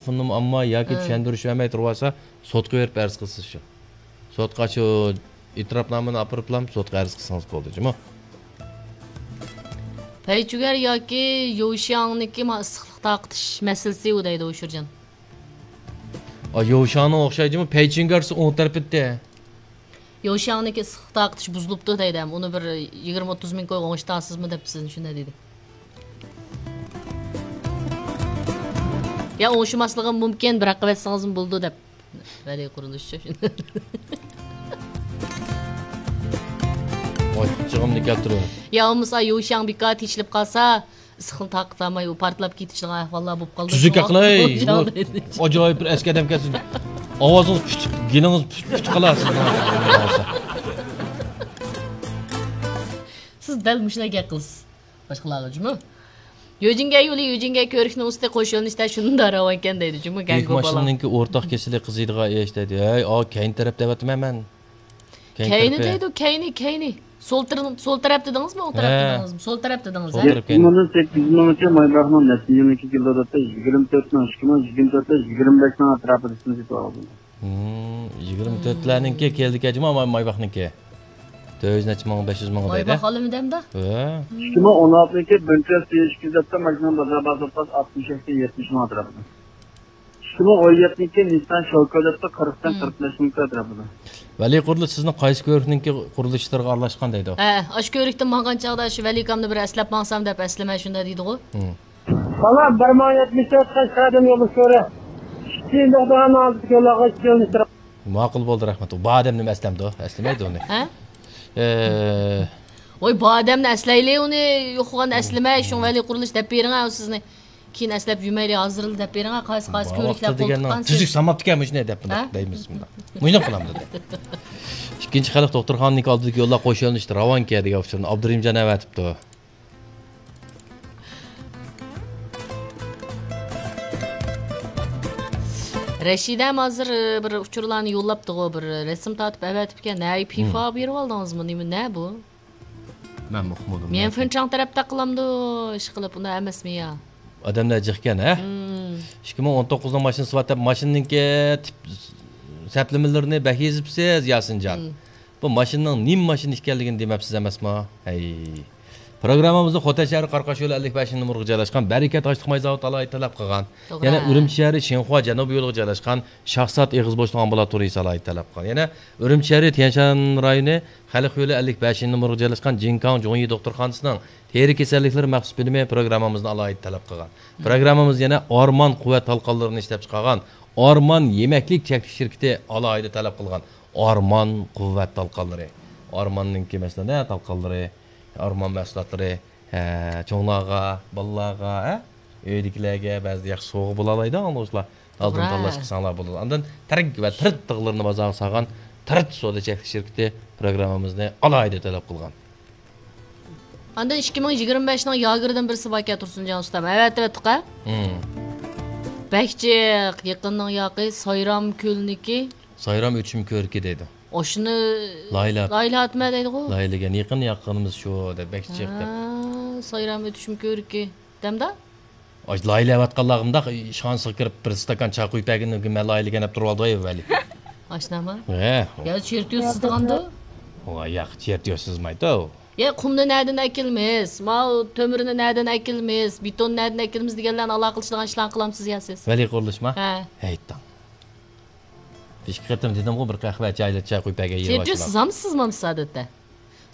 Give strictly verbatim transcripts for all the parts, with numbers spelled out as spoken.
ئامما ياكى چۈشەندۈرۈش بەرمەي تۇرۇۋالسا، سوتقا بېرىپ ئەرز قىلسىز شۇ. سوتقا شۇ ئېتىراپنامىنى ئاپىرىپلا سوتقا ئەرز قىلسىڭىز بولدى جۇمۇ. پەيچۈگەر ياكى يوشياڭنىكى ما ئىسسىقلىق تارقىتىش مەسىلىسى ئۇ دەيدۇ ئۇ شىرجان. ئا، يوشياڭنىڭ ئوخشايدۇ جۇمۇ، پەيچۈگەرسى ئوڭ تەرىپىدە. يوشياڭنىكى ئىسسىقلىق تارقىتىش بۇزۇلۇپتۇ دەيدۇ ھەم ئۇنى بىر يىگىرمە ئوتتۇز مىڭ كوي ئوڭشىتارسىزمۇ دەپ سىزنى شۇنداق دېدى. يا ئوڭشىماسلىقىم مۇمكىن، بىراق قىلىۋەتسىڭىزمۇ بولىدۇ دەپ. ۋەلى قۇرۇلۇشچۇ. ئاچچىقىمنى كەلتۈرۈڭ. يا بولمىسا يوشياڭ بىكار تېشىلىپ قالسا، ئىسسىقنى تارقىتالماي ئۇ پارتلاپ كېتىشىدىغان ئەھۋاللار بولۇپ قالىدۇ. تۈزۈك شۇڭا ئەقلەي. يوشياڭ بۇ دەيدۇ. ئاجايىپ بىر ئەسكى ئادەمكەنسىز. ئاۋازىڭىز پۈت، گېلىڭىز پۈت، پۈت قالاسىز. سىز دەل مۇشۇنداق گەپ قىلىسىز. باشقىلارغا جۇمۇ. يۆجىنگە يولى، يۆجىنگە كۆۋرۈكنىڭ ئۈستى، قوش يۆنىلىشتە شۇنداق راۋانكەن دەيدۇ جۇمۇ. يۈك ماشىنىنىڭكى ئورتاق كېسىلى قىزىيدىغان ئىش دەيدۇ. ھەي، ئا، كەينى تەرەپ دەۋاتىمەن مەن. كەينى كەينى تەرىپى. دەيدۇ، كەينى، كەينى. سول تەر-، سول تەرەپ دېدىڭىزمۇ، ئوڭ تەرەپ ھە. دېدىڭىزمۇ؟ سول تەرەپ دېدىڭىز، سول ھە؟ تەرەپ كەينى. يەتتە مىڭدىن سەككىز يۈز مىڭغىچە مايباخنىڭ نەچچە يىلنىڭكى كېلىدۇ دەپتۇ، يىگىرمە تۆت مىڭ، ئىككى مىڭ يىگىرمە تۆت، يىگىرمە بەش مىڭ ئەتراپىدا سېتىۋالدىم. ھىم، يىگىرمە تۆتلەرنىڭكى كەلدىكەن جۇمۇ، ماي-، مايباخنىڭكى. تۆت يۈز نەچچە مىڭ، بەش يۈز مىڭ دەيدۇ. مايباخ ئالىمىدەمدا؟ ھە. ئىككى مىڭ ئون ئالتىنچى بىر تۆت يۈز ئىككى يۈز دەپتۇ، ماشىنىنىڭ بازار باھاسى ئاتمىش يەتتە، يەتمىش مىڭ ئەتراپىدا. ئىككى مىڭ ئون يەتتىنچى نىسسان شوكا دەپتۇ، قىرىقتىن قىرىق بەش مىڭ ئەتراپىدا. ۋەلى قۇرۇلۇش سىزنىڭ قايسى كۆۋرۈكنىڭكى قۇرۇلۇشلىرىغا ئارىلاشقان دەيدۇ؟ ھە، ئاشۇ كۆۋرۈكتىن ماڭغان چاغدا شۇ ۋەلىكامنى بىر ئەسلەپ ماڭسام دەپ ئەسلىمە شۇنداق دېدىغۇ. ھىم. بالا بىر مىڭ يەتمىش تۆت قەشقەردىن يولدىش كۆرە. ئىككى دوغدىغان ھازىر يوللارغا يېتىشتۇرۇپ. ماقۇل بولدى، رەھمەت. بۇ ئادەمنى ئەسلەمدۇ، ئەسلىمەيدۇ ئۇنى. ھە؟ ئە، ۋاي، بۇ ئادەمنى ئەسلەيلى، ئۇنى يوقىغان ئەسلىمە، شۇڭا ۋەلى قۇرۇلۇش دەپ بېرىڭە، ئۇ سىزنى. كېيىن ئەسلەپ يۈمەيلى، ھازىرلا دەپ بېرىڭە، قايسى، قايسى بۇ كۆۋرۈكلەر ۋاقىتتا دېگەن قولتۇققانسىز؟ تۈزۈك ساماپتىكەن، مۇشۇنى دەپ ھە؟ دەيمىز. مۇنداق قىلامدۇ دەپ. ئىككىنچى خەلق دوختۇرخانىنىڭكى ئالدىدىكى يوللار قوش يۆنىلىشتە راۋانكەن دېگەن ئۇچۇرنى ئابدۇرېھىمجان ئەۋەتىپتۇ. رەشىدەم ھازىر، ئى، بىر ئۇچۇرلارنى يوللاپتىغۇ، بىر رەسىم تارتىپ ئەۋەتىپكەن. ھەي، پىفا بېرىۋالدىڭىزمۇ؟ نېمە، نە بۇ؟ مەنمۇ ئۇقمىدىم. ميەنفېنچاڭ تەرەپتە قىلامدۇ، ئىشقىلىپ، ئۇنداق ئەمەسمۇ يا؟ ئادەملەر جىقكەن، ھە؟ مم. ئىككى مىڭ ئون توققۇزنىڭ ماشىنىسى بار دەپ، ماشىنىنىڭكى تىپ سەپلىمىلىرىنى بەك يېزىپسىز، ياسىنجان. مم. بۇ ماشىنىنىڭ نېمە ماشىنا ئىكەنلىكىنى دېمەپسىز ئەمەسمۇ؟ ھەي. پروگراممىمىزدا خوتەن شەھىرى قاراقاش يولى ئەللىك بەشىنچى نومۇرغا جايلاشقان بەرىكەت ئاشلىق ماي زاۋۇتى ئالاھىدە تەلەپ قىلغان. توغرا. يەنە ئۈرۈمچى شەھىرى شىنخۇا جەنۇبىي يولىغا جايلاشقان شاھزات ئېغىز بوشلۇق ئامبۇلاتورىيىسى ئالاھىدە تەلەپ قىلغان. يەنە ئۈرۈمچى شەھىرى تيەنشان رايونى خەلق يولى ئەللىك بەشىنچى نومۇرغا جايلاشقان جىنكاڭ جۇڭيى دوختۇرخانىسىنىڭ تېرە كېسەللىكلىرى مەخسۇس بۆلۈمى پروگراممىمىزنى ئالاھىدە تەلەپ قىلغان. مم. پروگراممىمىز يەنە ئارمان قۇۋۋەت تالقانلىرىنى ئىشلەپچىقارغان ئارمان يېمەكلىك چەكلىك شىركىتى ئالاھىدە تەلەپ قىلغان ئارمان قۇۋۋەت تالقانلىرى. ئارماننىڭكى، مەسىلەن، ھە، تالقانلىرى، ئارمان مەھسۇلاتلىرى، ھە، چوڭلارغا، بالىلارغا، ھە، ئۆيدىكىلەرگە بەزىدە ياخشى سوۋغا بولالايدۇ، ئاڭلىغۇچىلار. ئالدىن توغرا. تاللاش قىلساڭلار بولىدۇ. ئاندىن تەرەك ۋە تىرىت تىغلىرىنى بازارغا سالغان تىرىت سودا چەكلىك شىركىتى پروگراممىمىزنى ئالاھىدە تەلەپ قىلغان. ئاندىن ئىككى مىڭ يىگىرمە بەشنىڭ ياگېردىن بىرسى باركەن، تۇرسۇنجان ئۇستام. ئەۋەتىۋەتتۇق-ھە؟ مم. بەك جىق، يېقىننىڭ ياقى، سايرام كۆلنىكى. سايرام ئۆتۈشۈم كۆۋرۈكى دەيدۇ. ئاشۇنى لايىھەلەپ. لايىھەلەتمە دەيدىغۇ. لايىھەلىگەن، يېقىن ياققىنىمىز شۇ دەپ، بەك جىق دەپ. ھە، سايرام ئۆتۈشۈم كۆۋرۈكى. دەمدا؟ ئاشۇ لايىھەلەۋاتقانلارغا مۇنداق ئىشخانىسىغا كىرىپ، بىر ستاكان چا قۇيۇپ بەرگىنىڭ مەن لايىھەلىگەن دەپ تۇرۇۋالدى ۋەلى. ئاشۇنداقمۇ؟ ھە. يا چېرتيوژ سىزىدىغاندۇ؟ ۋاي ياق، چېرتيوژ سىزمايدۇ. يا قۇمنى نەدىن ئەكېلىمىز؟ ماۋۇ تۆمۈرنى نەدىن ئەكېلىمىز؟ بېتوننى نەدىن ئەكېلىمىز دېگەنلەرنى ئالاقىلىشىدىغان ئىشلارنى قىلامسىز يا سىز؟ ۋەلى قۇرۇلۇشما؟ ھە. ھەيتتىڭ. بىر ئىككى قېتىم دېدىمغۇ، بىر قەھۋە، چايلا چاي قۇيۇپ بەرگەن يېرى بار شۇلار. سىزمۇ ئادەتتە؟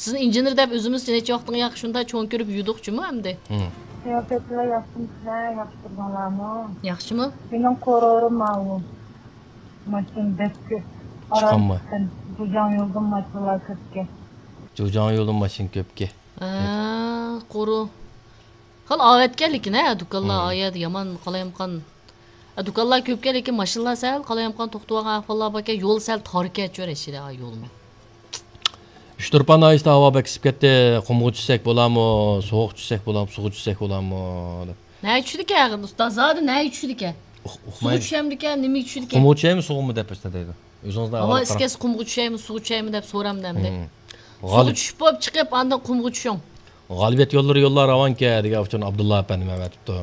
سىزنى ئىنژېنېر دەپ ئۆزىمىز نەچچە ۋاقىتتىن ياقى شۇنداق چوڭ كۆرۈپ يۈردۇق جۇمۇ ئەمدى. ھىم. قىياپەتلەر ياخشىمۇ سىلەر، ياخشى تۇرغانلارمۇ؟ ياخشىمۇ؟ مېنىڭ قورۇرۇم ماۋۇ. ماشىنا بەك كۆپ. چىقاممۇ؟ جۇجاڭ يولدىن ماشىنىلار كۆپكەن. جۇجاڭ يولدىن ماشىنا كۆپكەن. ھە، قورۇ. خېلى ئاۋەتكەن لېكىن، ھە، دۇكانلار ھىم. ئايەردە يامان قالايمىقان. ئە، دۇكانلار كۆپكەن، لېكىن ماشىنىلار سەل قالايمىقان توختىۋالغان ئەھۋاللار باركەن. يول سەل تاركەن، چۆرە ئىچىدە يولمۇ. ئۇچتۇرپان ناھىيەسىدە ھاۋا بەك ئىسسىپ كەتتى. قۇمغا چۈشسەك بولامۇ، سوغۇققا چۈشسەك بولامۇ، سۇغا چۈشسەك بولامۇ دەپ. نەگە چۈشىدىكەن ئۇستاز؟ زادى نەگە چۈشىدىكەن؟ ئۇق-، سۇغا ئۇقمايمەن. چۈشەمدىكەن، نېمىگە چۈشىدىكەن؟ قۇمغا چۈشەيمۇ، سۇغىمۇ دەپ باشلايدۇ. ئۆزىڭىزنىڭ ھاۋا ئىسسىپ كەتسە قۇمغا چۈشەيمۇ، سۇغا چۈشەيمۇ دەپ سورامدۇ ئەمدى. ھىم. سۇغا غالىب. چۈشۈپ بولۇپ چىقىپ، ئاندىن قۇمغا چۈشۈڭ. غالىبىيەت يوللىرى يوللار راۋانكەن دېگەن ئۇچۇرنى ئابدۇللا ئەپەندىم ئەۋەتىپتۇ.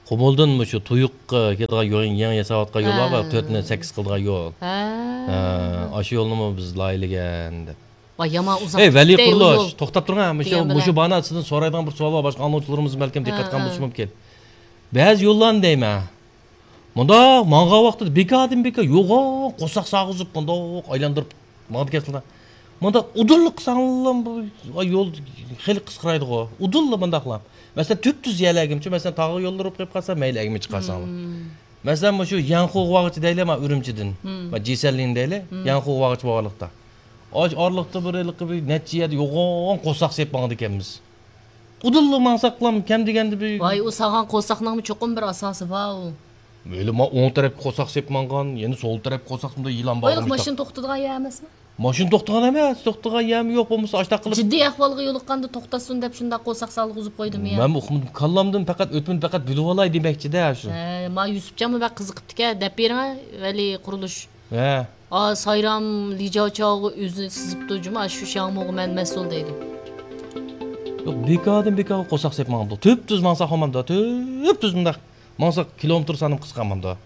قۇمۇلدىن مۇشۇ تۇيۇققا كېتىدىغان يول، يېڭى ياساۋاتقان يول بار، ھە، تۆتنى سەككىز قىلىدىغان يول. ھە. ھە، ئاشۇ يولنىمۇ بىز لايىھەلىگەن دەپ. ۋاي، يامان ئۇزاق. ئەي، ۋەلى قۇرۇلۇش، توختاپ تۇرۇڭ، ھە، مۇشۇ، مۇشۇ باھانە سىزدىن سورايدىغان بىر سوئال بار، باشقا ئاڭلىغۇچىلىرىمىز بەلكىم دىققەت قىلغان بولۇشى مۇمكىن. بەزى يوللارنى دەيمەن، مۇنداق ماڭغان ۋاقتىدا بىكاردىن بىكار يوغان قورساق سالغۇزۇپ، مۇنداق ئايلاندۇرۇپ ماڭىدىكەنسىلەر. مۇنداق ئۇدۇللا قىلساڭلار بۇ يول خېلى قىسقىرايدىغۇ. ئۇدۇللا مۇنداقلا. مەسىلەن، تۈپتۈز يەرلەرگىچۇ، مەسىلەن، تاغ يوللىرى بولۇپ قېلىپ قالسا، مەيلى ئەگمە چىقارساڭلار. مەسىلەن، مۇشۇ يەنخۇغۇاغىچە دەيلى، مانا ئۈرۈمچىدىن، مانا جىسەنلىن دەيلى، يەنخۇغاغىچە بولغانلىقتا. ئاش ئارىلىقتا بىر ھېلىقى بىر نەچچە يەردە يوغان قورساق سېلىپ ماڭىدىكەنمىز. ئۇدۇللا ماڭساقلام كەم دېگەندە بىر ۋاي، ئۇ سالغان قورساقنىڭمۇ چوقۇم بىر ئاساسى بار ئۇ. ھېلى ما ئوڭ تەرەپكە قورساق سېلىپ ماڭغان، يەنە سول تەرەپكە قورساق سېلىپ يىلان بار. ۋاي، ماشىنا توختىدىغان يەر ئەمەسمۇ؟ ماشىنا توختىغان ئەمەس، توختىغان يەرمۇ يوق، بولمىسا ئاشتاق قىلىپ. جىددىي ئەھۋالغا يولۇققاندا توختاتسۇن دەپ شۇنداق قورساق سالغۇزۇپ قويدۇم يا. مەن ئۇقمىدىم، كاللامدىن پەقەت ئۆتمىدى، پەقەت بىلىۋالاي دېمەكچىدە شۇ. ھە، ما يۈسۈپجانمۇ بەك قىزىقىپتىكەن، دەپ بېرىڭە، ۋەلى قۇرۇلۇش. ھە. ئا، سايرام لىجاۋچاۋغا ئۆزىنى سىزىپتۇ جۇمۇ، ئاشۇ شياڭمۇغا مەن مەسئۇل دەيدۇ. يوق، بىكاردىن بىكارغا قورساق سېلىپ ماڭامدۇ. تۈپتۈز ماڭساق بولمامدۇ، تۈپتۈز مۇنداق ماڭساق كىلومېتىر سانىمۇ قىسقارمامدۇ.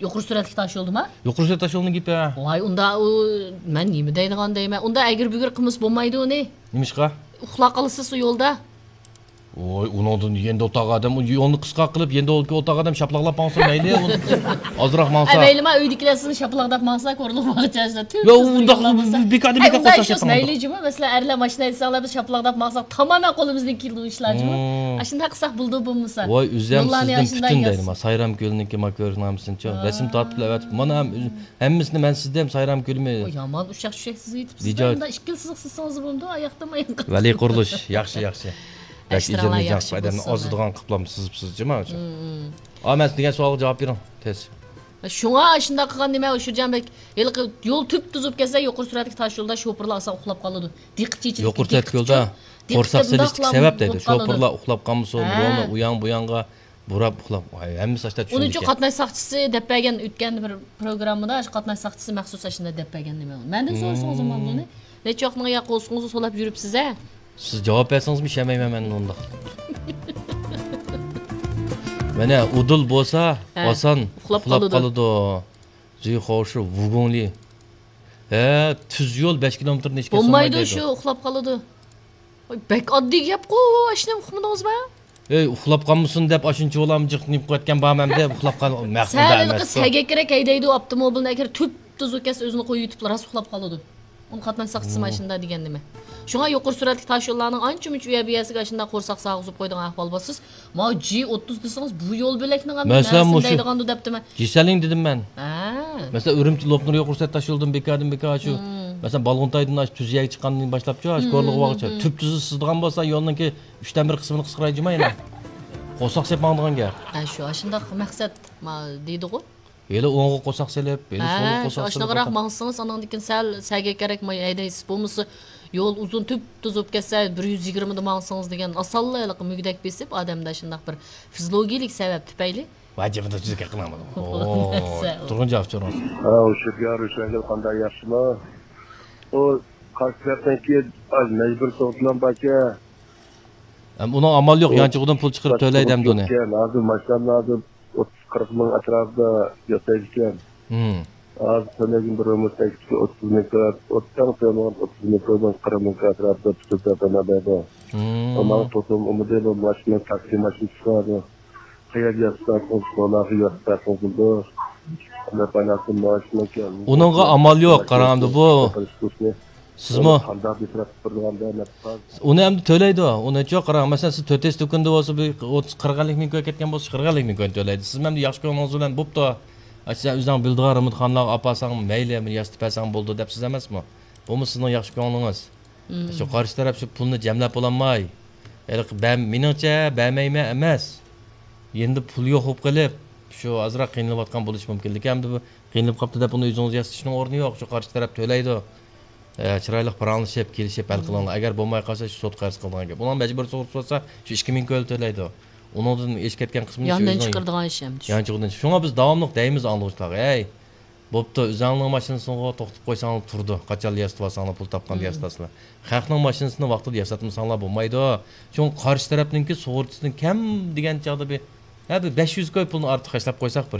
يۇقىرى سۈرئەتلىك تاش يولدىما؟ يۇقىرى سۈرئەت تاش يولدىن گېپى. ۋاي، ئۇندا ئۇ، مەن نېمە دەيدىغان دەيمەن. ئۇندا ئەگرى-بۈگرى قىلمىسا بولمايدۇ ئۇنى. نېمىشقا؟ ئۇخلاپ قالىسىز ئۇ يولدا. ۋوي، ئۇنىڭدىن يېنىدا ئولتۇرغان ئادەم، ئۇ يولنى قىسقا قىلىپ، يېنىدا ئولتۇرغان ئادەم شاپىلاقلاپ ماڭسۇن مەيلى، ئۇ ئازراق ماڭسا. ئە، مەيلىما، ئۆيدىكىلەر سىزنى شاپىلاقلاپ ماڭسا، كورلىق ماڭغىچە. يا، ئۇنداق بىكاردىن بىكار قىلسا مەيلى جۇمۇ، مەسىلەن، ئەرلەر ماشىنا ھەيدىسەڭلار، بىز شاپىلاقلاپ ماڭساق، تامامەن قولىمىزدىن كېلىدۇ ئىشلار جۇمۇ. ئاشۇنداق قىلساق بولىدۇ بولمىسا. ۋاي، ئۆزەم سىزدىن پۈتۈن دەيدىما، سايرام كۆلىنىڭكى ما كۆرنامىسىنىچۇ، رەسىم تارتىپ ئەۋەتىپ، مانا ھەم ھەممىسىنى مەن سىزدىم، سايرام كۆلىمى. ئوي، يامان ئۇششاق چۈشەك سىزىۋېتىپسىز. مۇنداق ئىككىلى سىزىق سىزسىڭىز بولمىدۇ، ئاياقتىن ئاياققا. ۋەلى قۇرۇلۇش، ياخشى، ياخشى. بەك ئىجادىي جەڭ قىلىپ، ئادەمنى ئازىدىغان قىلىپلا سىزىپسىز جۇما. ئا، مەن سىز دېگەن سوئالغا جاۋاب بېرىڭ، تېز. شۇڭا ئاشۇنداق قىلغان نېمە، ئۇشۇرجان بەك، ھېلىقى يول تۈپتۈز بولۇپ كەتسە، يۇقىرى سۈرئەتلىك تاش يولدا شوپۇرلار ئاسان ئۇخلاپ قالىدۇ. دىققىتى چېچىلىپ، يۇقىرى سۈرئەتلىك يولدا قورساق سېلىشتىكى سەۋەب دەيدۇ. شوپۇرلار ئۇخلاپ قالمىسۇن، يولنى ئۇيان بۇيانغا بۇراپ ئۇخلاپ، ھەممىسى ئاشتا چۈشىنىدىكەن. ئۇنىڭ ئۈچۈن قاتناش ساقچىسى دەپ بەرگەن، ئۆتكەندە بىر پروگراممىدا شۇ قاتناش ساقچىسى مەخسۇس ئاشۇنداق دەپ بەرگەن نېمە. مەندىن سورىسىڭىز بولىدۇ ئۇنى. نەچچە ۋاقىتنىڭ يا قورسىقىڭىزنى سولاپ يۈرۈپسىز ھە؟ سىز جاۋاب بەرسىڭىزمۇ ئىشەنمەيمەن مەن ئۇنداق. مانا ئۇدۇل بولسا ئاسان ئۇخلاپ قالىدۇ. زۈيخوشى ۋۇگۇڭلى. ھە، تۈز يول بەش كىلومېتىردىن ئېشىپ كەتسە بولمايدۇ، شۇ ئۇخلاپ قالىدۇ. ۋاي، بەك ئاددىي گەپقۇ، ئاشۇنى ئۇقمىدىڭىزما؟ ئەي، ئۇخلاپ قالمىسۇن دەپ ئاشۇنچە بولامدۇ جىق نېمە قىلىۋەتكەن بارمەن دەپ ئۇخلاپ قال، مەقۇل سەل ھېلىقى سەگەكرەك ھەيدەيدۇ ئاپتوموبىلنى، ئەگەر تۈپتۈز ئۇ كەتسە ئۆزىنى قويۇۋېتىپلا راست ئۇخلاپ قالىدۇ. ئۇنى قاتناش ساقچىسى ماشىنىدا دېگەن نېمە؟ شۇڭا يۇقىرى سۈرئەتلىك تاش يوللارنىڭ ئانچە-مۇنچە ئۇ يەر بۇ يەرسىگە ئاشۇنداق قورساق سالغۇزۇپ قويىدىغان ئەھۋال بار. سىز ما جى ئوتتۇز دېسىڭىز، بۇ يول بۆلەكنىڭ ھەم مەسىلەن، نەرسىنى مۇشۇ دەيدىغاندۇ دەپتىمەن. جىسەلىڭ دېدىم مەن. ھە. مەسىلەن، ئۈرۈمچى لوپنۇر يۇقىرى سۈرئەت تاش يولىدىن بىكاردىن بىكار شۇ، مەسىلەن، بالغۇنتايدىن ئاشۇ تۈز يەرگە چىققاندىن باشلاپچۇ، ئاشۇ كورلىغۇغاچە تۈپتۈز سىزىدىغان بولسا، يولنىڭكى ئۈچتىن بىر قىسمىنى قىسقىرايدۇ جۇما يەنە. قورساق سېلىپ ماڭىدىغان گەپ. ھە، شۇ، ئاشۇنداق مەقسەت ما دېيدىغۇ. ھېلى ئوڭغا قورساق سېلىپ، ھېلى سولغا قورساق سېلىپ. ئاشۇنداقراق ماڭسىڭىز، ئاندىن كېيىن سەل سەگەكرەك ھەيدەيسىز. بولمىسا يول ئۇزۇن تۈپتۈز بولۇپ كەتسە، بىر يۈز يىگىرمىدە ماڭسىڭىز دېگەن ئاسانلا ھېلىقى مۈگدەك بېسىپ، ئادەمدە شۇنداق بىر فىزىولوگىيىلىك سەۋەب تۈپەيلى. ۋاجىبىدا تۈزۈك قىلمىدىم. تۇرغۇن جاۋاب سورىڭىز. ھە، ئۇ شۆپيار ھۈسەنگۈل قانداق ياخشىمۇ؟ ئۇ قارشى تەرەپتىن كېيىن مەجبۇرىي سوغۇقلام باركەن. ئۇنىڭ ئامالى يوق، يانچۇقىدىن پۇل چىقىرىپ تۆلەيدۇ ئەمدى ئۇنى. ھازىر ماشىنامنى ھازىر ئوتتۇز قىرىق مىڭ ئەتراپىدا ياسايدىكەن. ھازىر تۆلەيدىغان بىر ئۆمۈر تەكلىپى ئوتتۇز مىڭ كىرا، ئوتتۇز مىڭ، ئوتتۇز مىڭ كىرا، قىرىق مىڭ كىرا ئەتراپىدا پۈتۈپ بەردى. ماڭا توسۇم ئۇمىدى بۇ ماشىنا، تاكسى ماشىنىسى بار. قەيەرگە ياسىتىپ بەرسىڭىز، سولاغا ياسىتىپ بەرسىڭىز بولىدۇ. ئۇنىڭغا ئامال يوق، قاراڭ ئەمدى بۇ. سىزمۇ؟ قانداق بىر تەرەپ بېرىدىغاندا نەپ بار. ئۇنى ئەمدى تۆلەيدۇ. ئۇنى چوق قاراڭ. مەسىلەن، سىز تۆت ئېس دۇكىنىدا بولسا، بىر ئوتتۇز، قىرىق ئەللىك مىڭ كۆيۈپ كەتكەن بولسا، قىرىق ئەللىك مىڭ كۆيۈپ تۆلەيدۇ. سىز ئەمدى ياخشى كۆڭلىڭىز بىلەن بوپتۇ. ئا، سەن ئۆزۈڭ بىلىدىغان رېمونتخانىلارغا ئاپارساڭ مەيلى، بىر ياسىتىپ بەرسەڭ بولىدۇ دەپ سىز ئەمەسمۇ؟ بۇمۇ سىزنىڭ ياخشى كۆڭلىڭىز. شۇ قارشى تەرەپ شۇ پۇلنى جەملەپ بولالماي، ھېلىقى بەم-، مېنىڭچە بەرمەيمەن ئەمەس. يېنىدا پۇل يوق بولۇپ قېلىپ، شۇ ئازراق قىينىلىۋاتقان بولۇشى مۇمكىن. لېكىن ئەمدى بۇ قىينىلىپ قاپتۇ دەپ ئۇنى ئۆزىڭىز ياسىتىشنىڭ ئورنى يوق. شۇ قارشى تەرەپ تۆلەيدۇ. ئە، چىرايلىق پاراڭلىشىپ، كېلىشىپ ھەل قىلىڭلار. ئەگەر بولماي قالسا، شۇ سوتقا ئەرز قىلىدىغان گەپ. ئۇنىڭ مەجبۇرىي سوغۇقلىسا، شۇ ئىككى مىڭ كۆل تۆلەيدۇ. ئۇنىڭدىن ئېشىپ كەتكەن قىسمىنى ياندىن چىقىرىدىغان ئىش ئەمدى شۇ. يانچۇقىدىن. شۇڭا بىز داۋاملىق دەيمىز ئاڭلىغۇچىلارغا، ھەي، بوپتۇ، ئۆزۈڭلارنىڭ ماشىنىسىغۇ توختىتىپ قويساڭلار تۇرىدۇ. قاچانلا ياسىتىۋالساڭلار، پۇل تاپقاندا ياسىتاسىلەر. خەقنىڭ ماشىنىسىنى ۋاقتىدا ياساتمىساڭلار بولمايدۇ. چوڭ قارشى تەرەپنىڭكى سۇغۇرتىسىدىن كەم دېگەن چاغدا بىر ھە، بىر بەش يۈز كوي پۇلنى ئارتۇق خەجلەپ قويساق بىر